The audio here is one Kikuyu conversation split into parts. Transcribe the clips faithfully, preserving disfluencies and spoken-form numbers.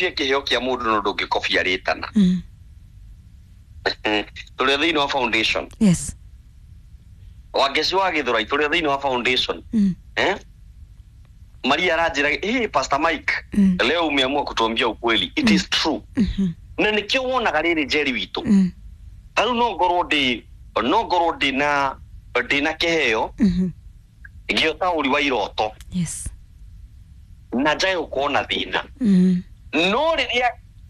Kĩheo kĩa mũndũ no ndũngĩkobia rĩtana. Mm. Tũrĩ thĩinĩ wa foundation. Yes. Wangeci wa Gĩthũrai, tũrĩ thĩinĩ wa foundation. Mm. Eh? Maria aranjĩra, "Hey, Pastor Mike, Mm. leo umeamua kutuambia ukweli." It is true. Mhm. Na nĩkĩo wonaga rĩrĩ, Njeri witũ, Mm. tarĩu no ngorwo ndĩ no ngorwo ndĩna ndĩna kĩheo Mhm. gĩa ũtaũri wa iroto Yes. na njage gũkorwo na thĩna, Mm. no rĩrĩa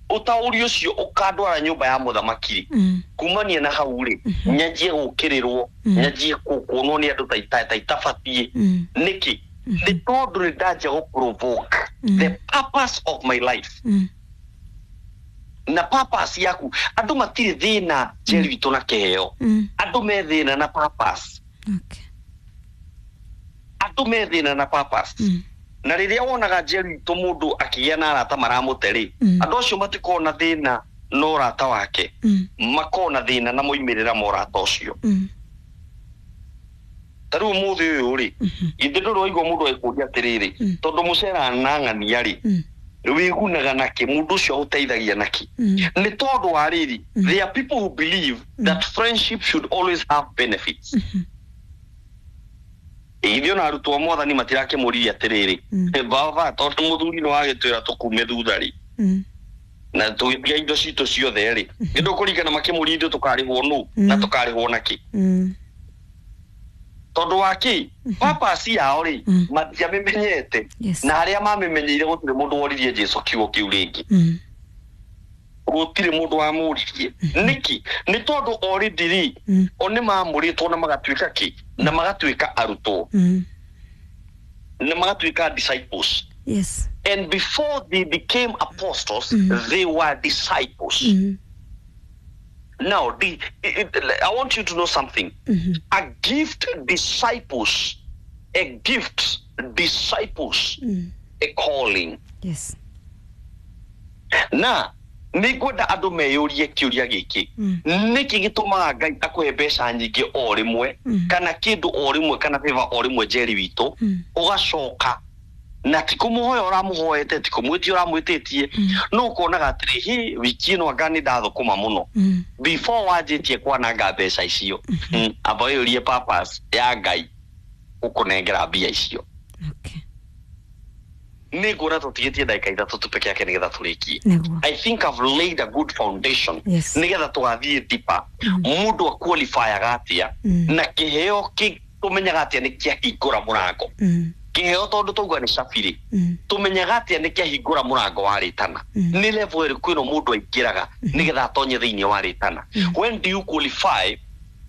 ũtaũri ũcio ũkandwara nyũmba ya mũthamaki rĩ, Mm. kumania na hau rĩ, nyanjie gũkĩrĩrwo, Mm. nyanjie kuonwo nĩ andũ ta ita- ta itabatiĩ. Mm. Nĩkĩ? Nĩ tondũ nĩ ndanjia gũ provoke Mm. the purpose of my life. Mm. Na purpose yaku, andũ matirĩ thĩna, Njeri witũ, na kĩheo. Mm. Andũ me thĩna na purpose. Okay. Andũ me thĩna na purpose. Mm. Na rĩrĩa wonaga, Njeri witũ, mũndũ akĩgĩa na arata maramũte rĩ, Mm. andũ acio matikoragwo na thĩna na ũrata wake, Mm. makoragwo na thĩna na moimĩrĩra ma ũrata ũcio. Mm. Ta rĩu ũmũthĩ ũyũ rĩ, Mhm. githĩ ndũrĩ waigua mũndũ agĩkũria atĩrĩrĩ, Mm. tondũ mũcera na ng'ania rĩ, Mm. wĩgunaga nakĩ? Mũndũ ũcio agũteithagia nakĩ? Mm. Nĩ tondũ wa rĩrĩ, Mm. there are people who believe that friendship should always have benefits. Mhm. Ithuĩ ona arutwo a Mwathani matirakĩmũririe atĩrĩrĩ, Mm. "Baba, tondũ mũthuri nĩ wagĩtwĩra tũkume thutha rĩ, Mm. na tũgĩtiga indo citũ ciothe rĩ," nĩ ndũkũringana makĩmũria ithuĩ tũkarĩhwo nũ na Mm. tũkarĩhwo nakĩ? Mm. Tondũ wa kĩ? Purpose yao rĩ, Mm. matiamĩmenyete. Yes. Na harĩa mamĩmenyeire, gũtirĩ mũndũ woririe Jesu kiugo kĩu rĩngĩ. Mm. Gũtirĩ mũndũ wamũririe. Nĩkĩ? Nĩ tondũ already rĩ, Mm. o nĩ mamũrĩtwo na magatuĩka kĩ? Na magatuĩka arutwo, Mm. na magatuĩka disciples. Yes. And before they became apostles, Mm. they were disciples. Mm. Now the, it, it, I want you to know something. Mhm. A gift disciples, a gift disciples Mm. a calling. Yes. Na nĩ ngwenda andũ meyũrie kĩũria gĩkĩ: Mm. Nĩkĩ gĩtũmaga Ngai akũhe mbeca nyingĩ o rĩmwe, Mm. kana kĩndũ o rĩmwe, kana favor o rĩmwe, Njeri witũ, Mm. ũgacoka na ti kũmũhoya ũramũhoete, ti kũmwĩtia ũramwĩtĩtie, Mm. no ũkonaga atĩrĩ, hi, wiki ĩno anga nĩ ndathũkũma mũno Mm. before wanjĩtie kwananga mbeca icio? Mm, amba wĩyũrie purpose ya Ngai gũkũnengera mbia icio. Okay. Nĩ nguona tũtigĩtie ndagĩka ithatũ tu peke yake nĩgetha tũrĩkie. Nĩguo. I think I've laid a good foundation Yes. nĩgetha tũgathiĩ deeper. Mm. Mũndũ aqualifyaga atĩa, Mm. na kĩheo kĩ tũmenyaga atĩa nĩ kĩahingũra mũrango? Mm. Kĩheo, tondũ tauga nĩ cabirĩ, Mm. tũmenyaga atĩa nĩ kĩahingũra mũrango wa rĩtana? Mm. Nĩ level ĩrĩkũ ĩno mũndũ aingĩraga nĩgetha atonye thĩinĩ wa rĩtana? Mm. When do you qualify?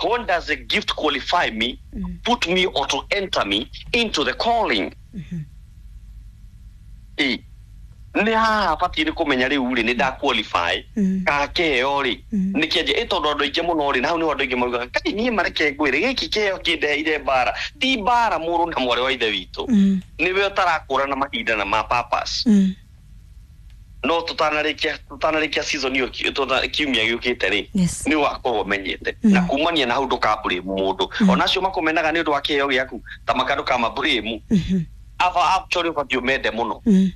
When does a gift qualify me, Mm. put me or to enter me into the calling? Mhm. Ĩ, nĩ haha batiĩ nĩ kũmenya rĩu rĩ, nĩ nda qualify Mm. ka kĩheo rĩ Mm. nĩ kĩanjia ĩ? Tondũ andũ aingĩ mũno rĩ, na hau nĩho andũ aingĩ maugaga, "Kai, niĩ mareke ngwĩre, gĩkĩ kĩheo kĩndeheire mbara." Ti mbara, mũrũ na mwarĩ wa ithe witũ, Mm. nĩwe ũtarakũrana mahinda na ma purpose. Mm. No tũtanarĩkia tũtanarĩkia season ĩyo, ki- tũta- kiumia gĩũkĩte rĩ, Yes. nĩ ũgakorwo ũmenyete, Mm. na kumania na hau ndũkablame mũndũ. Mm. Ona acio makũmenaga nĩ ũndũ wa kĩheo gĩaku, ta maka ndũkamablame. Mhm. Aba actually ũbatiĩ ũmende mũno. Mm.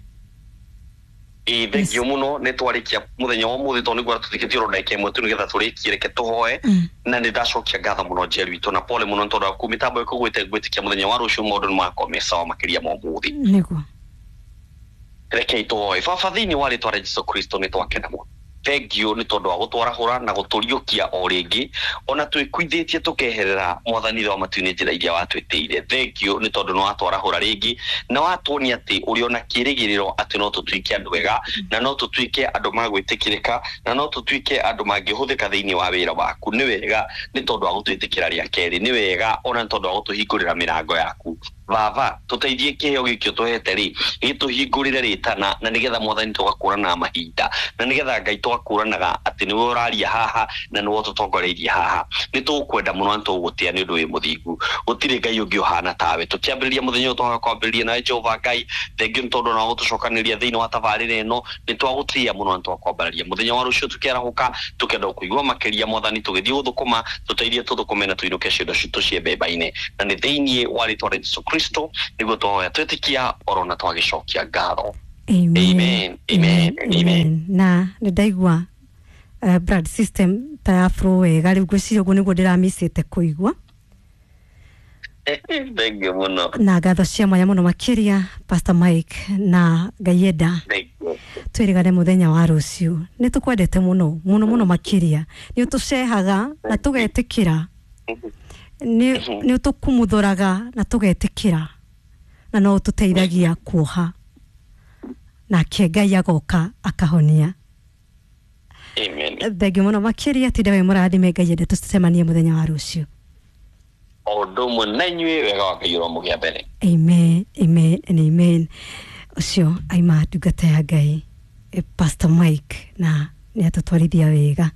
Ĩ, thengio mũno, nĩ twarĩkia mũthenya wa ũmũthĩ, tondũ nĩguo tũthikĩtie oro ndagĩka ĩmwe tu nĩgetha tũrĩkie. Reke tũhoe. Mm. Na nĩ ndacokia ngatho mũno, Njeri witũ, na pole mũno nĩ tondũ wa mĩtambo ĩkũgwĩte. Ngwĩtĩkia mũthenya wa rũciũ maũndũ nĩ magakorwo me sawa makĩria ma ũmũthĩ. Nĩguo. Rekei tũhoe. Baba, thĩinĩ wa rĩtwa rĩa Jesu Kristo, nĩ twakena mũno. Thengio nĩ tondũ wa gũtwarahũra na gũtũriũkia o rĩngĩ, ona twĩkuithĩtie tũkeherera, Mwathani wa matu-inĩ, njĩra iria watwĩtĩire. Thengio nĩ tondũ nĩ watwarahũra rĩngĩ na watuonia atĩ ũrĩ ona kĩrĩgĩrĩro atĩ no tũtuĩke andũ ega, na no tũtuĩke andũ magwĩtĩkĩrĩka, na no tũtuĩke andũ mangĩhũthĩka thĩinĩ wa wĩra waku. Nĩ wega nĩ tondũ wa gũtwĩtĩkĩra rĩa kerĩ, nĩ wega ona nĩ tondũ wa gũtũhingũrĩra mĩrango yaku. Baba, tũteithie kĩheo gĩkĩ ũtũhete rĩ, gĩtũhingũrĩre rĩtana, na nĩgetha, Mwathani, tũgakũranaga mahinda, na nĩgetha, Ngai, tũgakũranaga atĩ nĩwe ũraria haha na nĩwe ũtũtongoreirie haha. Nĩ tũgũkwenda mũno na tũgũgũtĩa nĩ ũndũ wĩ mũthingu. Gũtirĩ Ngai ũngĩ ũhana tawe. Tũkĩambĩrĩria mũthenya ũyũ, twaga kwambĩrĩria nawe, Jehova Ngai. Thengio nĩ tondũ ona gũtũcokanĩria thĩinĩ wa tabarĩra ĩno. Nĩ twagũtĩĩa mũno na twakwambararia. Mũthenya wa rũciũ tũkĩarahũka, tũkenda kũigua makĩria. Mwathani, tũgĩthiĩ gũthũkũma, tũteithie tũthũkũme na tũinũke ciondo citũ ciembemba-inĩ, na nĩ thĩinĩ wa rĩtwa rĩa Jesu Kristo nĩguo twahoya, twĩtĩkia oro na twagĩcokia ngatho. Amen. Amen, amen, amen. Na nä ndaigua uh, blood system ta ya flow wega rä u ngwĩciria ũguo nĩguo ndĩramicĩte kũigua. Thank you mũno. Na ngatho cia mwanya mũno makĩria, Pastor Mike, na Ngai enda Thank you. twĩrĩgane mũthenya wa rũciũ. Nĩ tũkwendete mũno mũno mũno makĩria, nĩ ũtũcehaga na tũgetĩkĩra, nĩ nĩ ũtũkumuthoraga na tũgetĩkĩra, na no ũtũteithagia kuoha, nake Ngai agoka akahonia. Amen. Thengiũ mũno makĩria, tinda wĩ mũrathime. Ngai ende tũcemanie mũthenya wa rũciũ. O ũndũ ũmwe na inyuĩ, wega wa Ngai ũromũgĩa mbere. Amen, amen and amen. Ũcio aima ndungata ya Ngai, eh, Pastor Mike, na nĩ atũtwarithia wega.